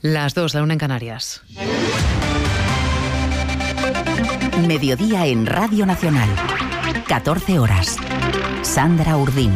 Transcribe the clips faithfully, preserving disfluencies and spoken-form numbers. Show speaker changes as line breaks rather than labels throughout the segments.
Las dos, la una en Canarias.
Mediodía en Radio Nacional. catorce horas. Sandra Urdín.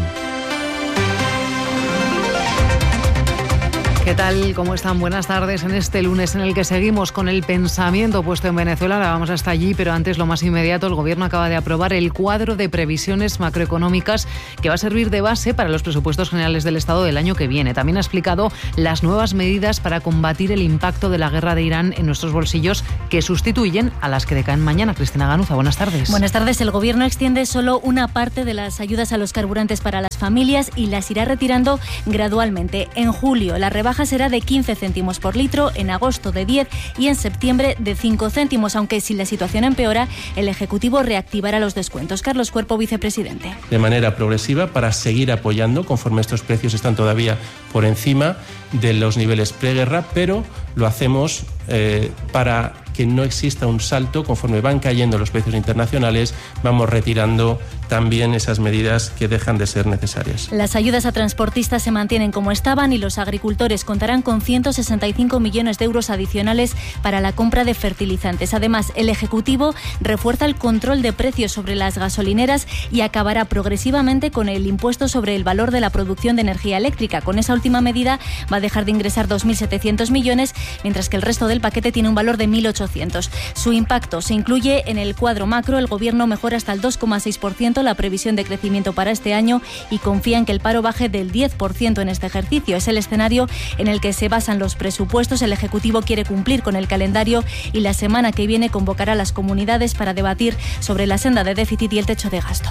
¿Qué tal? ¿Cómo están? Buenas tardes en este lunes en el que seguimos con el pensamiento puesto en Venezuela. Ahora vamos hasta allí, pero antes lo más inmediato, el Gobierno acaba de aprobar el cuadro de previsiones macroeconómicas que va a servir de base para los presupuestos generales del Estado del año que viene. También ha explicado las nuevas medidas para combatir el impacto de la guerra de Irán en nuestros bolsillos, que sustituyen a las que decaen mañana. Cristina Ganuza, buenas tardes.
Buenas tardes. El Gobierno extiende solo una parte de las ayudas a los carburantes para las familias y las irá retirando gradualmente. En julio, la rebaja será de quince céntimos por litro, en agosto de diez y en septiembre de cinco céntimos, aunque si la situación empeora, el Ejecutivo reactivará los descuentos. Carlos Cuerpo, vicepresidente.
De manera progresiva para seguir apoyando conforme estos precios están todavía por encima de los niveles preguerra, pero lo hacemos eh, para que no exista un salto. Conforme van cayendo los precios internacionales, vamos retirando también esas medidas que dejan de ser necesarias.
Las ayudas a transportistas se mantienen como estaban y los agricultores contarán con ciento sesenta y cinco millones de euros adicionales para la compra de fertilizantes. Además, el Ejecutivo refuerza el control de precios sobre las gasolineras y acabará progresivamente con el impuesto sobre el valor de la producción de energía eléctrica. Con esa última medida va a dejar de ingresar dos mil setecientos millones, mientras que el resto del paquete tiene un valor de mil ochocientos. Su impacto se incluye en el cuadro macro. El Gobierno mejora hasta el dos coma seis por ciento la previsión de crecimiento para este año y confía en que el paro baje del diez por ciento en este ejercicio. Es el escenario en el que se basan los presupuestos. El Ejecutivo quiere cumplir con el calendario y la semana que viene convocará a las comunidades para debatir sobre la senda de déficit y el techo de gasto.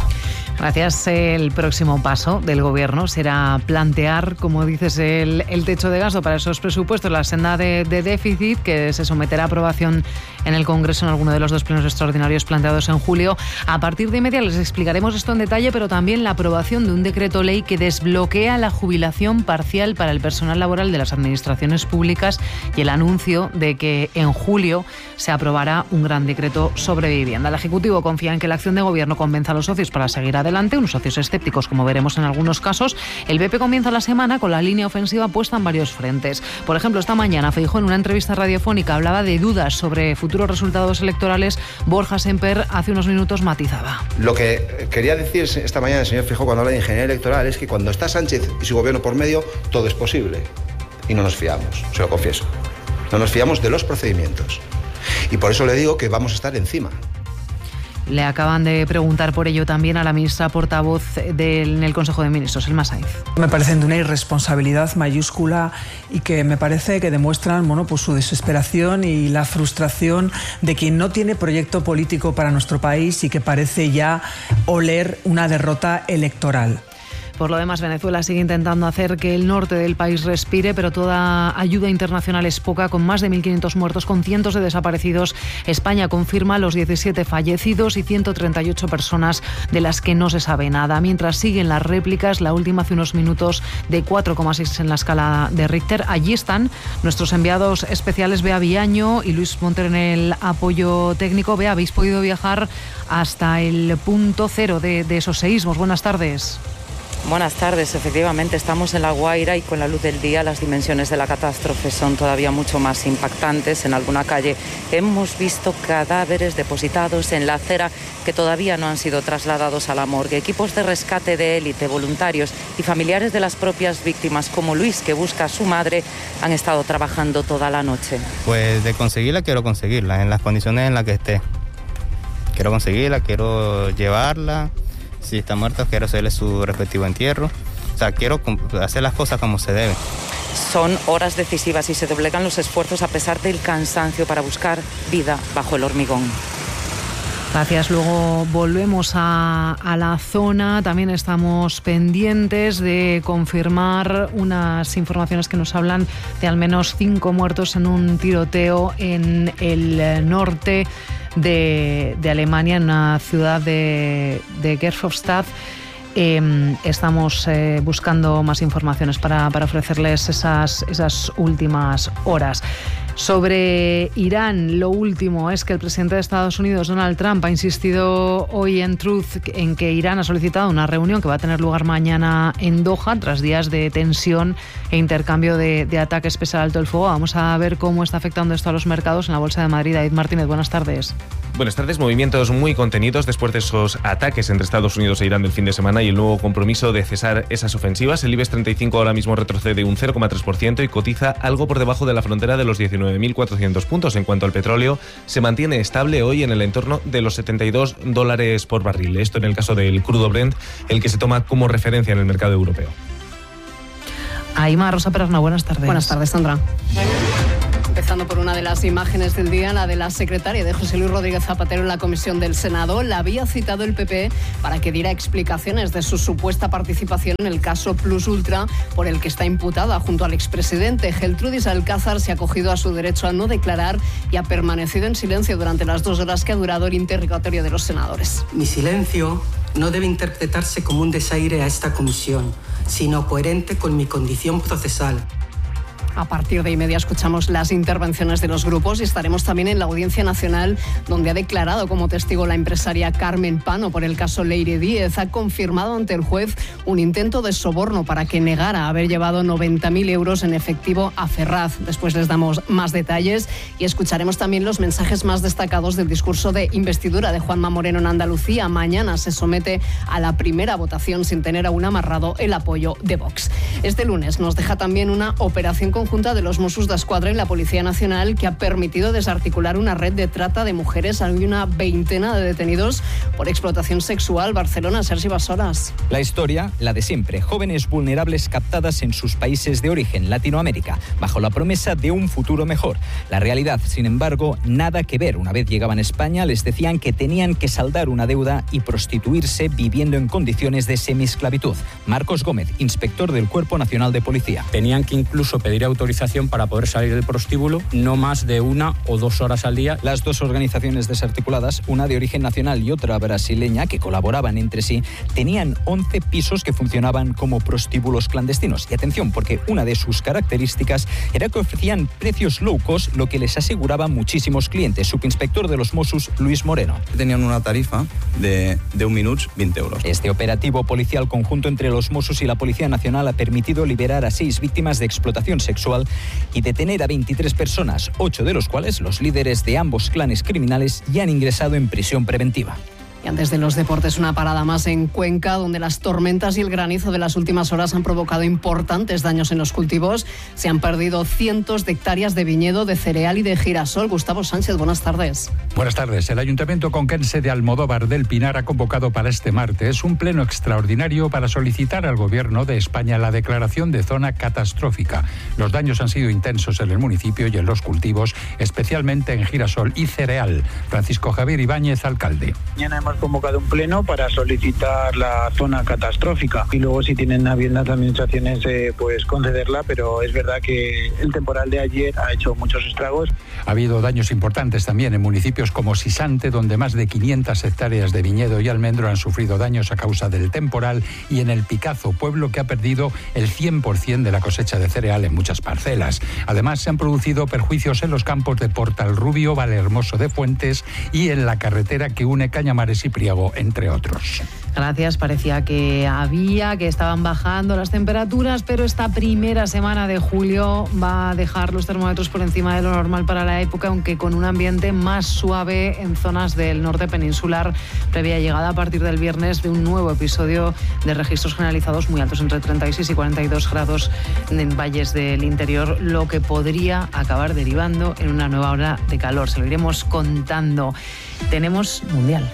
Gracias. El próximo paso del Gobierno será plantear, como dices, el, el techo de gasto para esos presupuestos, la senda de, de déficit, que se someterá a aprobación en el Congreso en alguno de los dos plenos extraordinarios planteados en julio. A partir de media les explicaremos esto en detalle, pero también la aprobación de un decreto ley que desbloquea la jubilación parcial para el personal laboral de las administraciones públicas y el anuncio de que en julio se aprobará un gran decreto sobre vivienda. El Ejecutivo confía en que la acción de Gobierno convenza a los socios para seguir adelante, unos socios escépticos, como veremos en algunos casos. El P P comienza la semana con la línea ofensiva puesta en varios frentes. Por ejemplo, esta mañana Feijóo, en una entrevista radiofónica, hablaba de dudas sobre futuros resultados electorales. Borja Semper hace unos minutos matizaba.
Lo que quería decir esta mañana el señor Feijóo cuando habla de ingeniería electoral es que cuando está Sánchez y su gobierno por medio, todo es posible. Y no nos fiamos, se lo confieso. No nos fiamos de los procedimientos. Y por eso le digo que vamos a estar encima.
Le acaban de preguntar por ello también a la ministra portavoz del, en el Consejo de Ministros, Elma Saiz.
Me parecen de una irresponsabilidad mayúscula y que me parece que demuestran, bueno, pues su desesperación y la frustración de quien no tiene proyecto político para nuestro país y que parece ya oler una derrota electoral.
Por lo demás, Venezuela sigue intentando hacer que el norte del país respire, pero toda ayuda internacional es poca, con más de mil quinientos muertos, con cientos de desaparecidos. España confirma los diecisiete fallecidos y ciento treinta y ocho personas de las que no se sabe nada. Mientras siguen las réplicas, la última hace unos minutos de cuatro coma seis en la escala de Richter. Allí están nuestros enviados especiales Bea Villaño y Luis Montero en el apoyo técnico. Bea, habéis podido viajar hasta el punto cero de, de esos seísmos. Buenas tardes.
Buenas tardes. Efectivamente, estamos en La Guaira y con la luz del día las dimensiones de la catástrofe son todavía mucho más impactantes. En alguna calle hemos visto cadáveres depositados en la acera que todavía no han sido trasladados a la morgue. Equipos de rescate de élite, voluntarios y familiares de las propias víctimas, como Luis, que busca a su madre, han estado trabajando toda la noche.
Pues de conseguirla, quiero conseguirla en las condiciones en las que esté. Quiero conseguirla, quiero llevarla. Si está muerto, quiero hacerle su respectivo entierro. O sea, quiero hacer las cosas como se deben.
Son horas decisivas y se doblegan los esfuerzos a pesar del cansancio para buscar vida bajo el hormigón.
Gracias. Luego volvemos a, a la zona. También estamos pendientes de confirmar unas informaciones que nos hablan de al menos cinco muertos en un tiroteo en el norte de, de Alemania, en una ciudad de, de Gerolstein. Eh, estamos eh, buscando más informaciones para, para ofrecerles esas, esas últimas horas. Sobre Irán, lo último es que el presidente de Estados Unidos, Donald Trump, ha insistido hoy en Truth en que Irán ha solicitado una reunión que va a tener lugar mañana en Doha, tras días de tensión e intercambio de, de ataques pese al alto el fuego. Vamos a ver cómo está afectando esto a los mercados en la Bolsa de Madrid. David Martínez, buenas tardes.
Buenas tardes. Movimientos muy contenidos después de esos ataques entre Estados Unidos e Irán del fin de semana y el nuevo compromiso de cesar esas ofensivas. El IBEX treinta y cinco ahora mismo retrocede un cero coma tres por ciento y cotiza algo por debajo de la frontera de los diecinueve mil cuatrocientos puntos. En cuanto al petróleo, se mantiene estable hoy en el entorno de los setenta y dos dólares por barril. Esto en el caso del crudo Brent, el que se toma como referencia en el mercado europeo.
Aima Rosa Perarna, buenas tardes.
Buenas tardes, Sandra. Empezando por una de las imágenes del día, la de la secretaria de José Luis Rodríguez Zapatero en la comisión del Senado. La había citado el P P para que diera explicaciones de su supuesta participación en el caso Plus Ultra, por el que está imputada junto al expresidente. Geltrudis Alcázar se ha acogido a su derecho a no declarar y ha permanecido en silencio durante las dos horas que ha durado el interrogatorio de los senadores.
Mi silencio no debe interpretarse como un desaire a esta comisión, sino coherente con mi condición procesal.
A partir de y media escuchamos las intervenciones de los grupos y estaremos también en la Audiencia Nacional, donde ha declarado como testigo la empresaria Carmen Pano por el caso Leire Díez. Ha confirmado ante el juez un intento de soborno para que negara haber llevado noventa mil euros en efectivo a Ferraz. Después les damos más detalles y escucharemos también los mensajes más destacados del discurso de investidura de Juanma Moreno en Andalucía. Mañana se somete a la primera votación sin tener aún amarrado el apoyo de Vox. Este lunes nos deja también una operación con conjunta de los Mossos d'Esquadra y la Policía Nacional que ha permitido desarticular una red de trata de mujeres. Hay una veintena de detenidos por explotación sexual. Barcelona, Sergi Basoras.
La historia, la de siempre. Jóvenes vulnerables captadas en sus países de origen, Latinoamérica, bajo la promesa de un futuro mejor. La realidad, sin embargo, nada que ver. Una vez llegaban a España, les decían que tenían que saldar una deuda y prostituirse viviendo en condiciones de semiesclavitud. Marcos Gómez, inspector del Cuerpo Nacional de Policía.
Tenían que incluso pedir autorización para poder salir del prostíbulo, no más de una o dos horas al día.
Las dos organizaciones desarticuladas, una de origen nacional y otra brasileña, que colaboraban entre sí, tenían once pisos que funcionaban como prostíbulos clandestinos. Y atención, porque una de sus características era que ofrecían precios low cost, lo que les aseguraba muchísimos clientes. Subinspector de los Mossos, Luis Moreno.
Tenían una tarifa de, de un minuto, veinte euros.
Este operativo policial conjunto entre los Mossos y la Policía Nacional ha permitido liberar a seis víctimas de explotación sexual y detener a veintitrés personas, ocho de los cuales los líderes de ambos clanes criminales ya han ingresado en prisión preventiva.
Y antes de los deportes, una parada más en Cuenca, donde las tormentas y el granizo de las últimas horas han provocado importantes daños en los cultivos. Se han perdido cientos de hectáreas de viñedo, de cereal y de girasol. Gustavo Sánchez, buenas tardes.
Buenas tardes. El Ayuntamiento conquense de Almodóvar del Pinar ha convocado para este martes un pleno extraordinario para solicitar al Gobierno de España la declaración de zona catastrófica. Los daños han sido intensos en el municipio y en los cultivos, especialmente en girasol y cereal. Francisco Javier Ibáñez, alcalde.
Mañana hemos convocado un pleno para solicitar la zona catastrófica y luego si tienen a bien las administraciones eh, pues concederla, pero es verdad que el temporal de ayer ha hecho muchos estragos.
Ha habido daños importantes también en municipios como Sisante, donde más de quinientas hectáreas de viñedo y almendro han sufrido daños a causa del temporal, y en El Picazo, pueblo que ha perdido el cien por ciento de la cosecha de cereal en muchas parcelas. Además, se han producido perjuicios en los campos de Portalrubio, Vallehermoso de Fuentes y en la carretera que une Cañamares y Priego, entre otros.
Gracias. Parecía que había, que estaban bajando las temperaturas, pero esta primera semana de julio va a dejar los termómetros por encima de lo normal para la época, aunque con un ambiente más suave en zonas del norte peninsular, previa llegada a partir del viernes de un nuevo episodio de registros generalizados muy altos, entre treinta y seis y cuarenta y dos grados en valles del interior, lo que podría acabar derivando en una nueva ola de calor. Se lo iremos contando. Tenemos Mundial.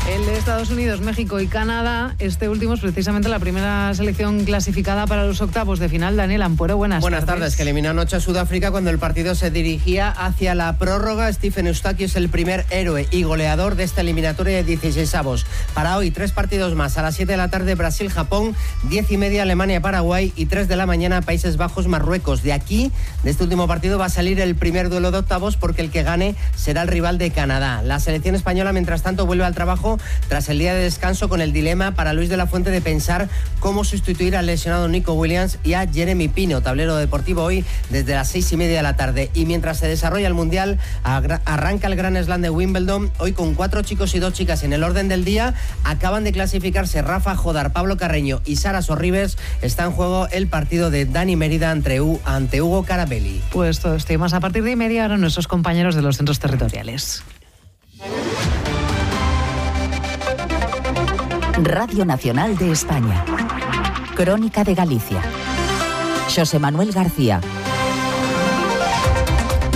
El Estados Unidos, México y Canadá. Este último es precisamente la primera selección clasificada para los octavos de final. Daniel Ampuero, buenas,
buenas tardes. Buenas tardes, que eliminó anoche a Sudáfrica cuando el partido se dirigía hacia la prórroga. Stephen Eustachio es el primer héroe y goleador de esta eliminatoria de dieciseisavos. Para hoy, tres partidos más. A las siete de la tarde, Brasil-Japón, diez y media, Alemania-Paraguay y tres de la mañana, Países Bajos-Marruecos. De aquí, de este último partido, va a salir el primer duelo de octavos porque el que gane será el rival de Canadá. La selección española, mientras tanto, vuelve al trabajo tras el día de descanso con el dilema para Luis de la Fuente de pensar cómo sustituir al lesionado Nico Williams y a Jeremy Pino. Tablero deportivo hoy desde las seis y media de la tarde. Y mientras se desarrolla el Mundial, arranca el Gran Slam de Wimbledon. Hoy con cuatro chicos y dos chicas en el orden del día. Acaban de clasificarse Rafa Jodar, Pablo Carreño y Sara Sorribes. Está en juego el partido de Dani Mérida ante, U, ante Hugo Carabelli.
Pues todo esto y más a partir de media hora nuestros compañeros de los centros territoriales.
Radio Nacional de España. Crónica de Galicia. Xosé Manuel García.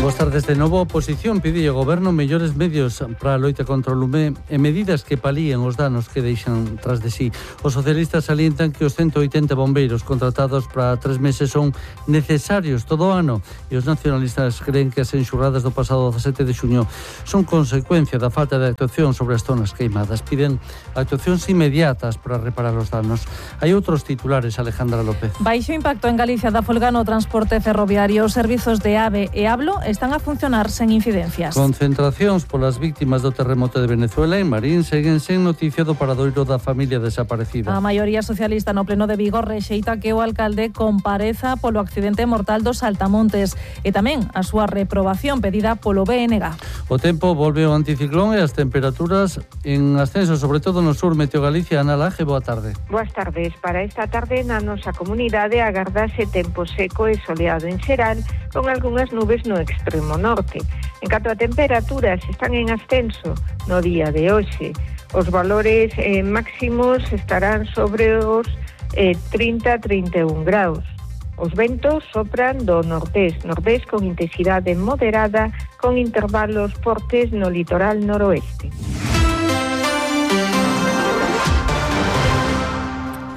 Boas tardes de novo. A oposición pide ao Goberno mellores medios para a loita contra o lume e medidas que palíen os danos que deixan tras de sí. Os socialistas salientan que os ciento oitenta bombeiros contratados para tres meses son necesarios todo o ano e os nacionalistas creen que as enxurradas do pasado dezasete de xuño son consecuencia da falta de actuación sobre as zonas queimadas. Piden actuacións inmediatas para reparar os danos. Hai outros titulares, Alejandra López.
Baixo impacto en Galicia da folga no transporte ferroviario. Os servizos de AVE e Hablo están a funcionar sen incidencias.
Concentracións polas víctimas do terremoto de Venezuela en Marín seguen sen noticia do paradoiro da familia desaparecida.
A maioría socialista no pleno de Vigo rexeita que o alcalde compareza polo accidente mortal dos Saltamontes e tamén a súa reprobación pedida polo B N G.
O tempo volve ao anticiclón e as temperaturas en ascenso, sobre todo no sur. Meteo Galicia, Ana Laje, boa tarde.
Boas tardes. Para esta tarde na nosa comunidade agardase tempo seco e soleado en xeral, con algunhas nubes no extremo norte. En canto a temperaturas, están en ascenso no día de hoxe. Os valores eh, máximos estarán sobre os eh, trinta a trinta e un graus. Os ventos sopran do nordés, nordés con intensidade moderada, con intervalos fortes no litoral noroeste.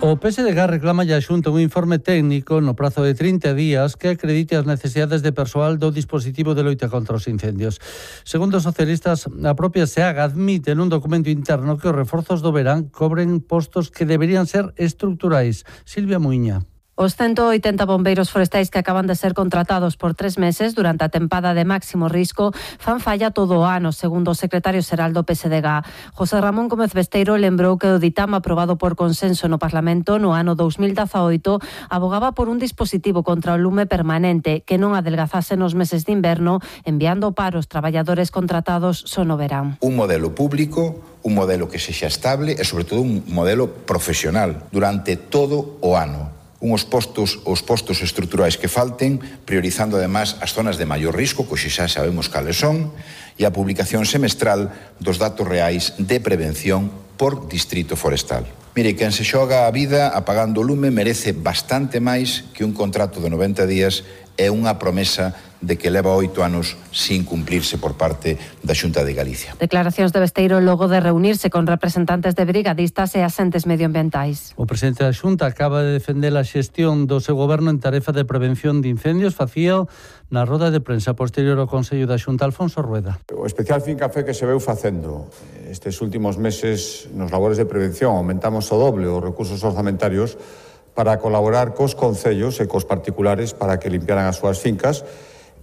O P S D G reclama a Xunta un informe técnico no prazo de trinta días que acredite as necesidades de persoal do dispositivo de loita contra os incendios. Segundo os socialistas, a propia SEAG admite nun documento interno que os reforzos do verán cobren postos que deberían ser estruturais. Silvia Muiña.
Os ciento oitenta bombeiros forestais que acaban de ser contratados por tres meses durante a tempada de máximo risco fan falla todo o ano, segundo o secretario xeral do P S D G. José Ramón Gómez Besteiro lembrou que o ditame aprobado por consenso no Parlamento no ano dos mil dezaoito abogaba por un dispositivo contra o lume permanente que non adelgazase nos meses de inverno, enviando para os traballadores contratados só no verán.
Un modelo público, un modelo que sexa estable e, sobre todo, un modelo profesional durante todo o ano. Uns postos, os postos estruturais que falten, priorizando ademais as zonas de maior risco, que xa sabemos cales son, e a publicación semestral dos datos reais de prevención por distrito forestal. Mire, quen se xoga a vida apagando o lume merece bastante máis que un contrato de noventa días e unha promesa de que leva oito anos sin cumplirse por parte da Xunta de Galicia.
Declaracións de Besteiro logo de reunirse con representantes de brigadistas e asentes medioambientais.
O presidente da Xunta acaba de defender a xestión do seu goberno en tarefa de prevención de incendios. Facía na roda de prensa posterior ao Consello da Xunta, Alfonso Rueda.
O especial fincafé que se veu facendo estes últimos meses nos labores de prevención, aumentamos o doble os recursos orzamentarios para colaborar cos concellos e cos particulares para que limpiaran as súas fincas.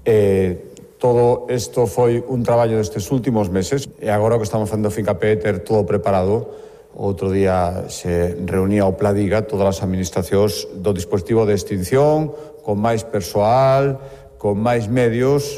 Eh, todo isto foi un traballo destes últimos meses e agora o que estamos facendo fincapé é ter todo preparado. Outro día se reunía o Pladiga, todas as administracións do dispositivo de extinción, con máis persoal, con máis medios.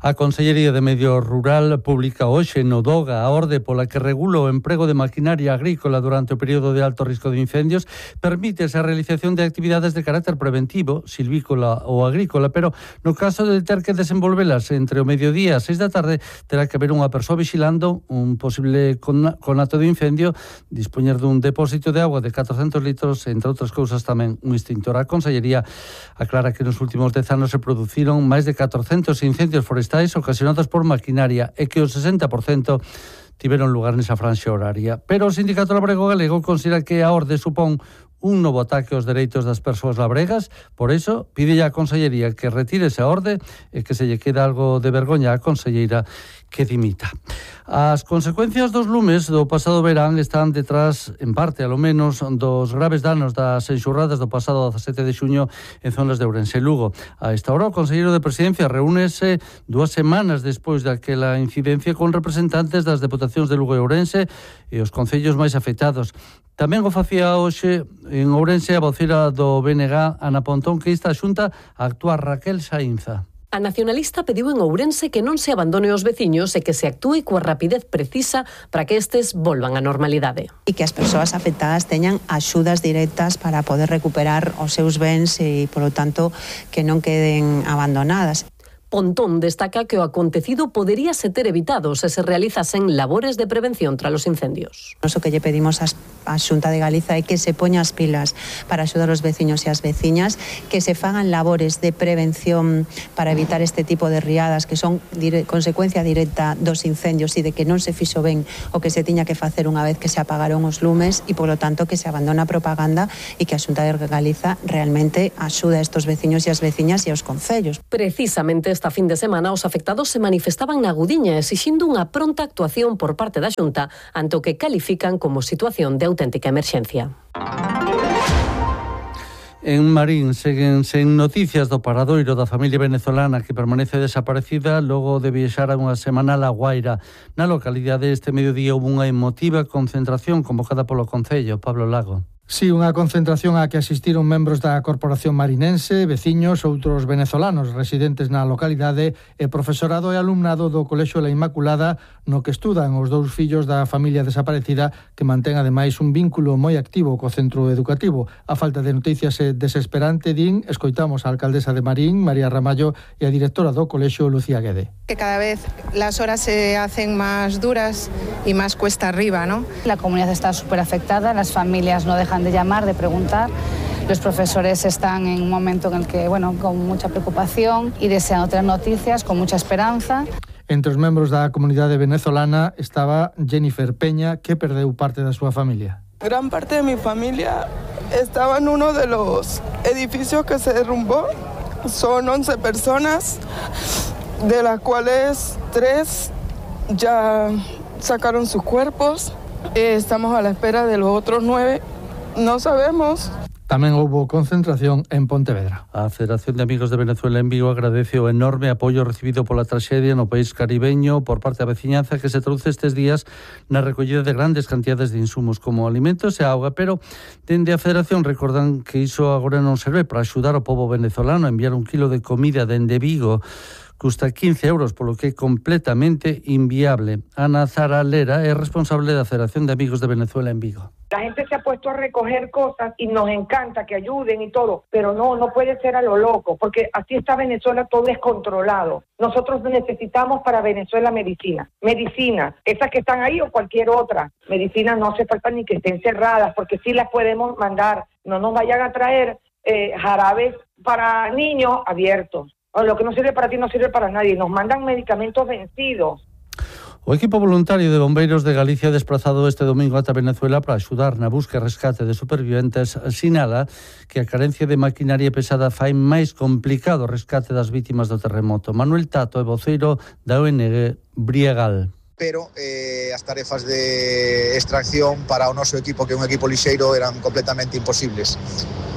A Consellería de Medio Rural publica hoxe no DOGA a orde pola que regula o emprego de maquinaria agrícola durante o período de alto risco de incendios. Permítese a realización de actividades de carácter preventivo, silvícola ou agrícola, pero no caso de ter que desenvolvelas entre o mediodía e as seis da tarde, terá que haber unha persoa vigilando un posible conato de incendio, dispoñer dun depósito de agua de catrocentos litros, entre outras cousas tamén un extintor. A Consellería aclara que nos últimos dez anos se produciron máis de catrocentos incendios forestais ocasionados por maquinaria e que o sesenta por cento tiveron lugar nesa franxa horaria. Pero o Sindicato Labrego Galego considera que a orde supón un novo ataque aos dereitos das persoas labregas, por iso pide a Consellería que retire esa orde e que se lle queda algo de vergoña á conselleira que dimita. As consecuencias dos lumes do pasado verán están detrás, en parte, alo menos, dos graves danos das enxurradas do pasado dezasete de xuño en zonas de Ourense e Lugo. A esta hora, o Conselleiro de Presidencia reúnese dúas semanas despois daquela incidencia con representantes das Deputacións de Lugo e Ourense e os concellos máis afectados. Tamén o facía hoxe en Ourense a vocera do B N G, Ana Pontón, que insta a Xunta a actuar Raquel Saínza.
A nacionalista pediu en Ourense que non se abandone os veciños e que se actúe coa rapidez precisa para que estes volvan á normalidade.
E que as persoas afectadas teñan axudas directas para poder recuperar os seus bens e, polo tanto, que non queden abandonadas.
Pontón destaca que o acontecido poderíase ter evitado se se realizasen labores de prevención tras os incendios.
O que lle pedimos á Xunta de Galiza é que se poña as pilas para axudar os veciños e as veciñas, que se fagan labores de prevención para evitar este tipo de riadas que son dire- consecuencia directa dos incendios e de que non se fixo ben o que se tiña que facer unha vez que se apagaron os lumes e, polo tanto, que se abandona a propaganda e que a Xunta de Galiza realmente axuda a estos veciños e as veciñas e aos concellos.
Precisamente esta fin de semana os afectados se manifestaban na Gudiña exixindo unha pronta actuación por parte da Xunta ante o que califican como situación de auténtica emerxencia.
En Marín seguen sen noticias do paradoiro da familia venezolana que permanece desaparecida logo de viaxar a unha semana a Guaira. Na localidade este mediodía houve unha emotiva concentración convocada polo Concello. Pablo Lago.
Sí, unha concentración á que asistiron membros da Corporación Marinense, veciños, outros venezolanos residentes na localidade e profesorado e alumnado do Colexio La Inmaculada, no que estudan os dous fillos da familia desaparecida, que mantén ademais un vínculo moi activo co centro educativo. A falta de noticias é desesperante, din, escoitamos a alcaldesa de Marín, María Ramallo, e a directora do Colexio, Lucía Guede.
Que cada vez las horas se hacen más duras y más cuesta arriba, ¿no?
La comunidad está súper afectada, las familias no dejan de llamar, de preguntar. Los profesores están en un momento en el que, bueno, con mucha preocupación y deseando tener noticias, con mucha esperanza.
Entre os membros da comunidade venezolana estaba Jennifer Peña, que perdeu parte da súa familia.
Gran parte de mi familia estaba en uno de los edificios que se derrumbó. Son once personas, de las cuales tres ya sacaron sus cuerpos. Eh, estamos a la espera de los otros nueve. No sabemos.
Tamén houbo concentración en Pontevedra.
A Federación de Amigos de Venezuela en Vigo agradece o enorme apoio recibido pola traxedia no país caribeño por parte da veciñanza que se traduce estes días na recollida de grandes cantidades de insumos como alimentos e auga, pero dende a Federación recordan que iso agora non serve para axudar ao pobo venezolano a enviar un kilo de comida dende Vigo. Custa quince euros, polo que é completamente inviable. Ana Zara Lera é responsable da Federación de Amigos de Venezuela en Vigo.
La gente se ha puesto a recoger cosas y nos encanta que ayuden y todo, pero no, no puede ser a lo loco, porque así está Venezuela todo descontrolado. Nosotros necesitamos para Venezuela medicina, medicinas, esas que están ahí o cualquier otra. Medicinas no hace falta ni que estén cerradas, porque sí las podemos mandar. No nos vayan a traer eh, jarabes para niños abiertos. Lo que no sirve para ti no sirve para nadie. Nos mandan medicamentos vencidos.
O equipo voluntario de bombeiros de Galicia desplazado este domingo ata Venezuela para axudar na busca e rescate de superviventes sinala que a carencia de maquinaria pesada fai máis complicado o rescate das vítimas do terremoto. Manuel Tato é voceiro da O N G Briegal.
Pero eh, as tarefas de extracción para o noso equipo, que é un equipo lixeiro, eran completamente imposibles.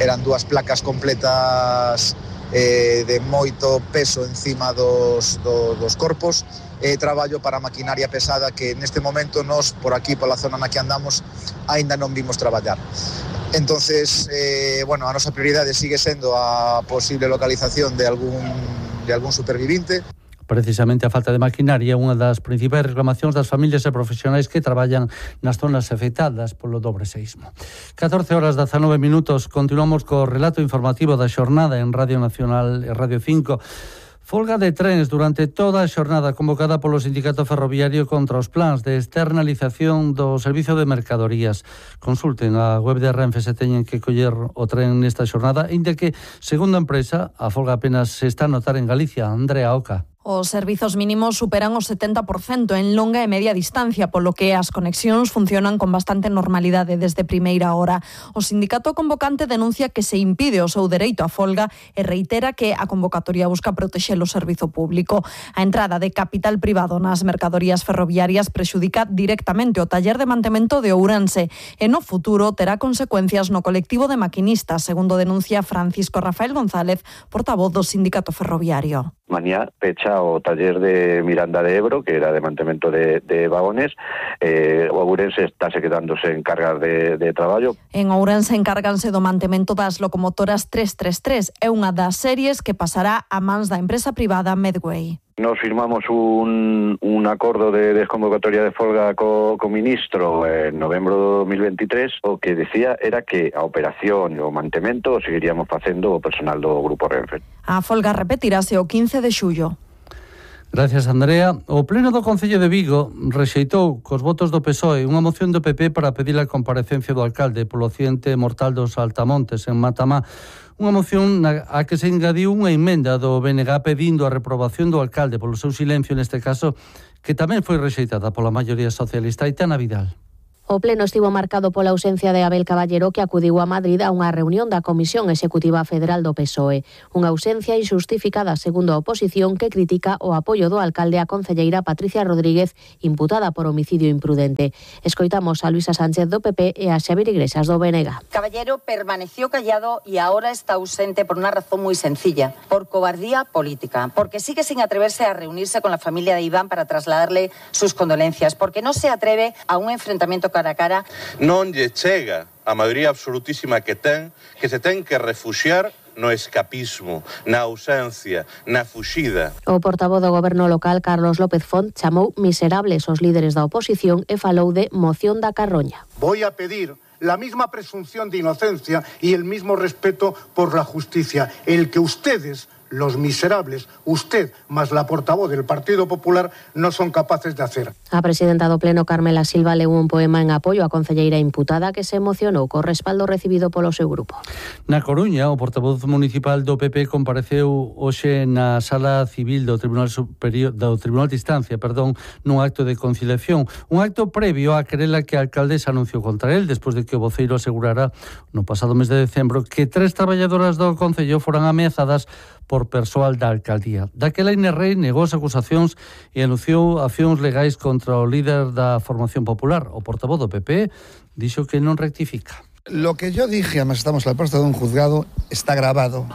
Eran dúas placas completas eh, de moito peso encima dos, do, dos corpos e eh, traballo para maquinaria pesada que neste momento nós, por aquí, pola zona na que andamos, aínda non vimos traballar. Entonces, eh, bueno, a nosa prioridade sigue sendo a posible localización de algún, de algún supervivinte.
Precisamente a falta de maquinaria é unha das principais reclamacións das familias e profesionais que traballan nas zonas afectadas polo dobre seismo. catorce horas dezanove minutos, continuamos co relato informativo da xornada en Radio Nacional e Radio cinco. Folga de trens durante toda a xornada convocada polo Sindicato Ferroviario contra os plans de externalización do servizo de mercadorías. Consulten a web de Renfe se teñen que coller o tren nesta xornada, inda que, segundo a empresa, a folga apenas se está a notar en Galicia. Andrea Oca.
Os servizos mínimos superan o setenta por cento en longa e media distancia, polo que as conexións funcionan con bastante normalidade desde primeira hora. O sindicato convocante denuncia que se impide o seu dereito á folga e reitera que a convocatoria busca protexer o servizo público. A entrada de capital privado nas mercadorías ferroviarias prexudica directamente o taller de mantemento de Ourense e no futuro terá consecuencias no colectivo de maquinistas, segundo denuncia Francisco Rafael González, portavoz do sindicato ferroviario.
Mañá pecha o taller de Miranda de Ebro, que era de mantemento de, de vagones. eh, o Ourense estáse quedándose en cargas de, de traballo.
En Ourense encárganse do mantemento das locomotoras trescentos treinta e tres, é unha das series que pasará a mans da empresa privada Medway.
Nos firmamos un, un acordo de desconvocatoria de folga co, co ministro en novembro de dos mil veintitrés. O que decía era que a operación e o mantemento o seguiríamos facendo o personal do Grupo Renfe.
A folga repetirase o quince de xullo.
Gracias, Andrea. O Pleno do Concello de Vigo rexeitou cos votos do P S O E unha moción do P P para pedir a comparecencia do alcalde polo accidente mortal dos Altamontes en Matamá. Unha moción na a que se engadiu unha emenda do B N G pedindo a reprobación do alcalde polo seu silencio neste caso, que tamén foi rexeitada pola maioría socialista. Aitana Vidal.
O pleno estivo marcado pola ausencia de Abel Caballero, que acudiu a Madrid a unha reunión da Comisión Executiva Federal do P S O E. Unha ausencia injustificada, segundo a oposición, que critica o apoio do alcalde á concelleira Patricia Rodríguez, imputada por homicidio imprudente. Escoitamos a Luisa Sánchez do P P e a Xavier Iglesias do B N G.
Caballero permaneció callado y ahora está ausente por una razón muy sencilla, por cobardía política, porque sigue sin atreverse a reunirse con la familia de Iván para trasladarle sus condolencias, porque no se atreve a un enfrentamiento cara a cara.
Non lle chega a maioría absolutísima que ten, que se ten que refuxiar no escapismo, na ausencia, na fuxida.
O portavoz do goberno local, Carlos López Font, chamou miserables os líderes da oposición e falou de moción da carroña.
Voy a pedir la misma presunción de inocencia y el mismo respeto por la justicia, el que ustedes, los miserables, usted más la portavoz del Partido Popular, no son capaces de hacer.
A presidenta do Pleno, Carmela Silva, leu un poema en apoio á concelleira imputada que se emocionou co respaldo recibido polo seu grupo.
Na Coruña, o portavoz municipal do P P compareceu hoxe na Sala Civil do Tribunal Superior do Tribunal de Instancia, perdón, nun acto de conciliación, un acto previo á querela que a alcaldesa anunciou contra el despois de que o voceiro asegurara no pasado mes de decembro que tres traballadoras do concello foran ameazadas por persoal da alcaldía. Daquela Inés Rei negou as acusacións e anunciou accións legais contra o líder da formación popular. O portavoz do P P dixo que non rectifica.
Lo que yo dije, además estamos a la puerta de un juzgado, está grabado.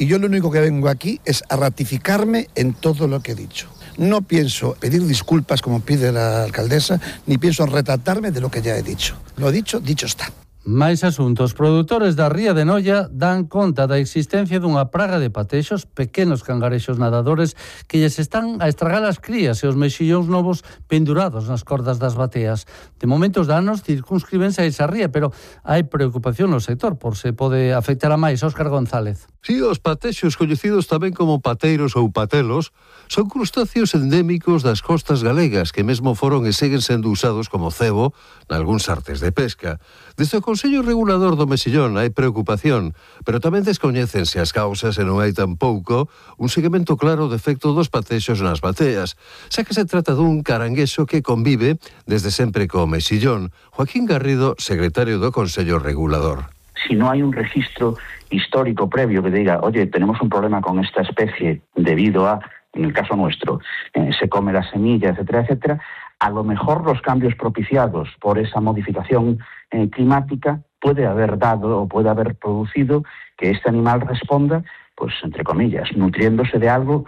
Y yo lo único que vengo aquí es a ratificarme en todo lo que he dicho. No pienso pedir disculpas como pide la alcaldesa, ni pienso retratarme de lo que ya he dicho. Lo dicho, dicho está.
Máis asuntos. Produtores da Ría de Noia dan conta da existencia dunha praga de patexos, pequenos cangarexos nadadores que lles están a estragar as crías e os mexillóns novos pendurados nas cordas das bateas. De momento os danos circunscríbense a esa ría, pero hai preocupación no sector por se pode afectar a máis. Óscar González.
Si, os patexos, coñecidos tamén como pateiros ou patelos, son crustáceos endémicos das costas galegas que mesmo foron e seguen sendo usados como cebo nalgúns artes de pesca. Desde o Consello Regulador do Mexillón hai preocupación, pero tamén descoñécense as causas e non hai tampouco un seguimento claro do efecto dos patexos nas bateas, xa que se trata dun caranguexo que convive desde sempre co mexillón. Joaquín Garrido, secretario do Consello Regulador.
Si no hay un registro histórico previo que diga, oye, tenemos un problema con esta especie debido a, en el caso nuestro, eh, se come la semilla, etcétera, etcétera, a lo mejor los cambios propiciados por esa modificación eh, climática puede haber dado o puede haber producido que este animal responda, pues, entre comillas, nutriéndose de algo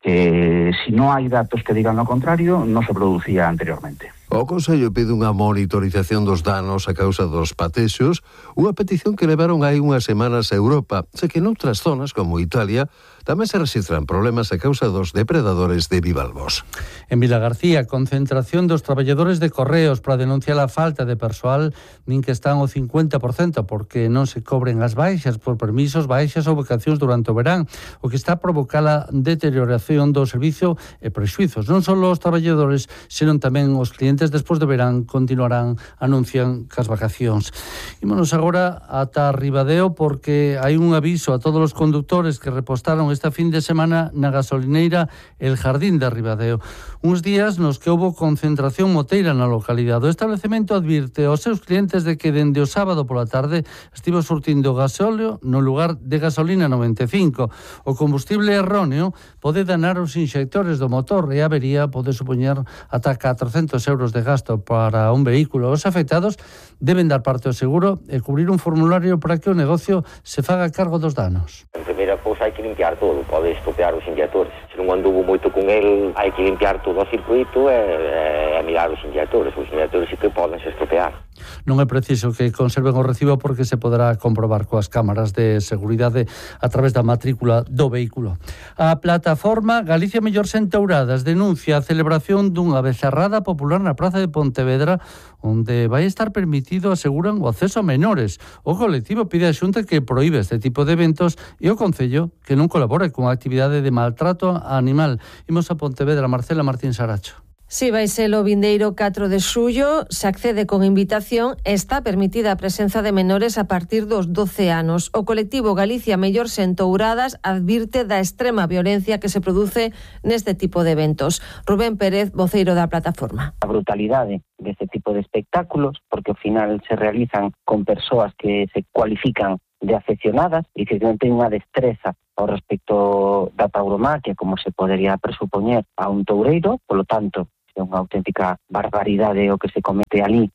que, si no hay datos que digan lo contrario, no se producía anteriormente.
O Consello pide unha monitorización dos danos a causa dos patexos, unha petición que levaron hai unhas semanas a Europa, xa que noutras zonas, como Italia, tamén se rexistran problemas a causa dos depredadores de bivalvos.
En Vilagarcía, concentración dos traballadores de correos para denunciar a falta de persoal, nin que están o cincuenta por cento porque non se cobren as baixas por permisos, baixas ou vacacións durante o verán, o que está a provocar a deterioración do servicio e prexuizos, non só os traballadores, senón tamén os clientes residentes despois de verán continuarán, anuncian, cas vacacións. Ímonos agora ata Ribadeo porque hai un aviso a todos os conductores que repostaron esta fin de semana na gasolineira El Jardín de Ribadeo. Uns días nos que houbo concentración moteira na localidade. O establecemento advirte aos seus clientes de que dende o sábado pola tarde estivo surtindo gasóleo no lugar de gasolina noventa e cinco. O combustible erróneo pode danar os inxectores do motor e a avería pode supoñer ata catrocentos euros de gasto para un vehículo. Os afectados deben dar parte ao seguro e cubrir un formulario para que o negocio se faga cargo dos danos.
En primeira cousa hai que limpiar todo, pode estopear os injectores. Se non anduvo moito con el, hai que limpiar todo o circuito e, e mirar os injectores. Os injectores sí que poden se estropear.
Non é preciso que conserven o recibo porque se poderá comprobar coas cámaras de seguridade a través da matrícula do vehículo. A plataforma Galicia Mellor sen Touradas denuncia a celebración dunha becerrada popular na Praza de Pontevedra onde vai estar permitido, aseguran, o acceso a menores. O colectivo pide a Xunta que proíbe este tipo de eventos e o Concello que non colabore con a actividade de maltrato animal. Imos a Pontevedra, Marcela Martín Saracho.
Si vai ser o vindeiro catro de xullo, se accede con invitación e está permitida a presenza de menores a partir dos doce anos. O colectivo Galicia Mellor sen Touradas advirte da extrema violencia que se produce neste tipo de eventos. Rubén Pérez, voceiro da plataforma.
A brutalidade deste tipo de espectáculos, porque ao final se realizan con persoas que se cualifican de afeccionadas e que non ten unha destreza ao respecto da tauromaquia, como se podería presupoñer a un toureiro, polo tanto, é unha auténtica barbaridade o que se comete ali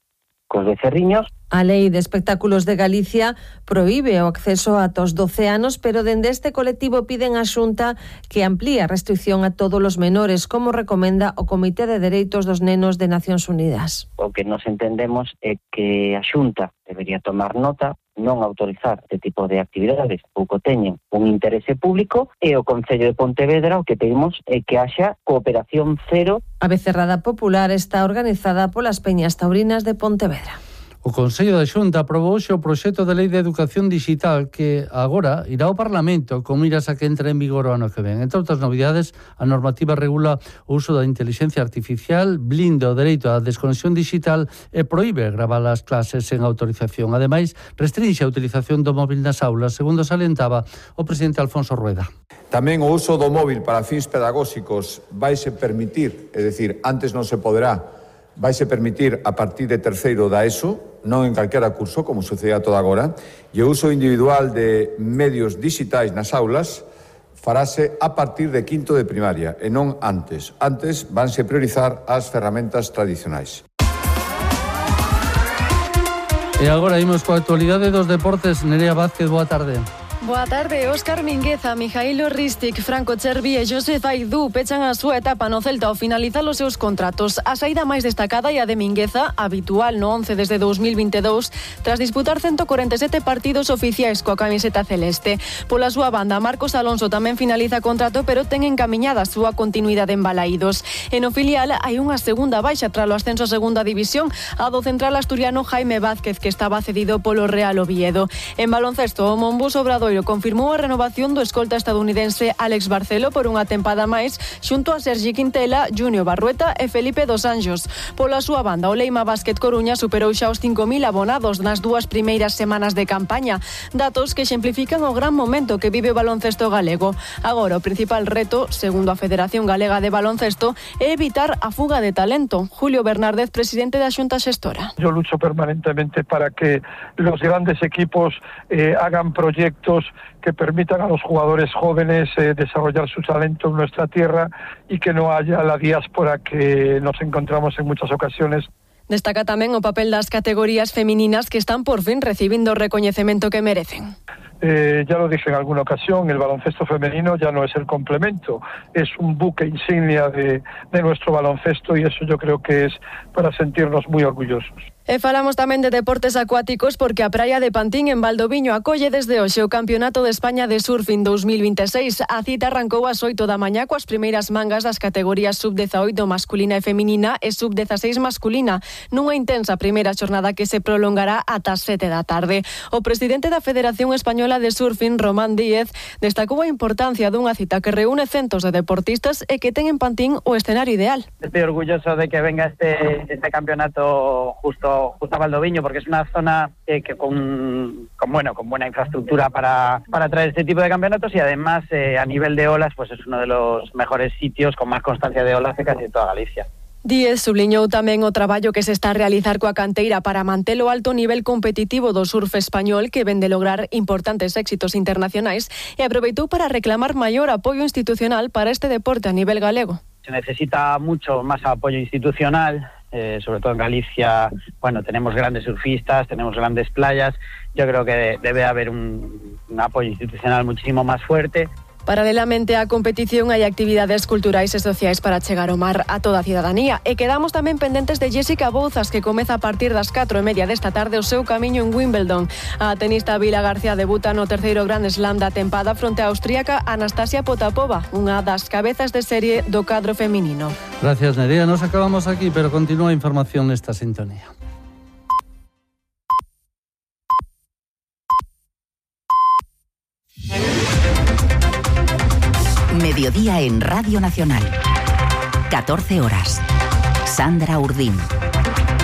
cos becerriños.
A Lei de Espectáculos de Galicia proíbe o acceso ata os doce anos, pero dende este colectivo piden á Xunta que amplíe a restricción a todos os menores, como recomenda o Comité de Dereitos dos Nenos de Nacións Unidas.
O que nos entendemos é que a Xunta debería tomar nota, non autorizar este tipo de actividades pouco teñen un interese público, e o Concello de Pontevedra o que pedimos é que haxa cooperación cero.
A becerrada popular está organizada polas Peñas Taurinas de Pontevedra.
O Consello da Xunta aprobou hoxe o proxecto de Lei de Educación Digital que agora irá ao Parlamento con miras a que entre en vigor o ano que ven. Entre outras novidades, a normativa regula o uso da inteligencia artificial, blinda o dereito á desconexión digital e proíbe gravar as clases sen autorización. Ademais, restrinxe a utilización do móvil nas aulas, segundo salientaba o presidente Alfonso Rueda.
Tamén o uso do móvil para fins pedagóxicos vaise permitir, é dicir, antes non se poderá, vaise permitir a partir de terceiro da ESO, non en calquera curso, como sucedía toda agora, e o uso individual de medios digitais nas aulas farase a partir de quinto de primaria e non antes. Antes vanse priorizar as ferramentas tradicionais.
E agora imos coa actualidade dos deportes. Nerea Vázquez, boa tarde.
Boa tarde. Óscar Mingueza, Mijailo Ristic, Franco Chervi e Josef Aidú pechan a súa etapa no Celta ao finalizar os seus contratos. A saída máis destacada é a de Mingueza, habitual no once desde dous mil vinte e dous, tras disputar ciento corenta e sete partidos oficiais coa camiseta celeste. Pola súa banda, Marcos Alonso tamén finaliza contrato, pero ten encamiñada a súa continuidade en Balaídos. E no filial hai unha segunda baixa tras o ascenso a segunda división, a do central asturiano Jaime Vázquez, que estaba cedido polo Real Oviedo. En baloncesto, o Monbus Obradoiro confirmou a renovación do escolta estadounidense Alex Barcelo por unha tempada máis xunto a Sergi Quintela, Junior Barrueta e Felipe dos Anjos. Pola súa banda, o Leima Basket Coruña superou xa os cinco mil abonados nas dúas primeiras semanas de campaña, datos que exemplifican o gran momento que vive o baloncesto galego. Agora, o principal reto, segundo a Federación Galega de Baloncesto, é evitar a fuga de talento. Julio Bernárdez, presidente da Xunta Xestora.
Yo lucho permanentemente para que los grandes equipos eh, hagan proyectos que permitan a los jugadores jóvenes eh, desarrollar su talento en nuestra tierra y que no haya la diáspora que nos encontramos en muchas ocasiones.
Destaca tamén o papel das categorías femininas que están por fin recibindo o recoñecemento que merecen.
Eh, ya lo dije en alguna ocasión, el baloncesto femenino ya no es el complemento, es un buque insignia de, de nuestro baloncesto y eso yo creo que es para sentirnos muy orgullosos.
E falamos tamén de deportes acuáticos porque a praia de Pantín en Valdoviño acolle desde hoxe o Campeonato de España de Surfing dos mil vinte e seis. A cita arrancou ás oito da mañá coas primeiras mangas das categorías sub dezaoito masculina e feminina e sub dezaseis masculina, nunha intensa primeira xornada que se prolongará ata as sete da tarde. O presidente da Federación Española de Surfing, Román Díez, destacou a importancia dunha cita que reúne centos de deportistas e que ten en Pantín o escenario ideal.
Estoy orgulloso de que venga este, este campeonato justo justo a Valdoviño, porque es una zona eh, que con, con bueno con buena infraestructura para, para traer este tipo de campeonatos y además eh, a nivel de olas pues es uno de los mejores sitios con más constancia de olas de casi toda Galicia.
Díez subliñou tamén o traballo que se está a realizar coa canteira para manter o alto nivel competitivo do surf español que ven de lograr importantes éxitos internacionais e aproveitou para reclamar maior apoio institucional para este deporte a nivel galego.
Se necesita mucho más apoyo institucional. Eh, sobre todo en Galicia, bueno, tenemos grandes surfistas, tenemos grandes playas. Yo creo que debe haber un, un apoyo institucional muchísimo más fuerte.
Paralelamente á competición hai actividades culturais e sociais para chegar ao mar a toda a cidadanía. E quedamos tamén pendentes de Jessica Bouzas, que comeza a partir das catro e media desta tarde o seu camiño en Wimbledon. A tenista Vila García debuta no terceiro Grand Slam da tempada fronte á austríaca Anastasia Potapova, unha das cabezas de serie do cadro feminino.
Gracias, Nerea. Nos acabamos aquí, pero continúa a información nesta sintonía.
Mediodía en Radio Nacional. catorce horas. Sandra Urdín.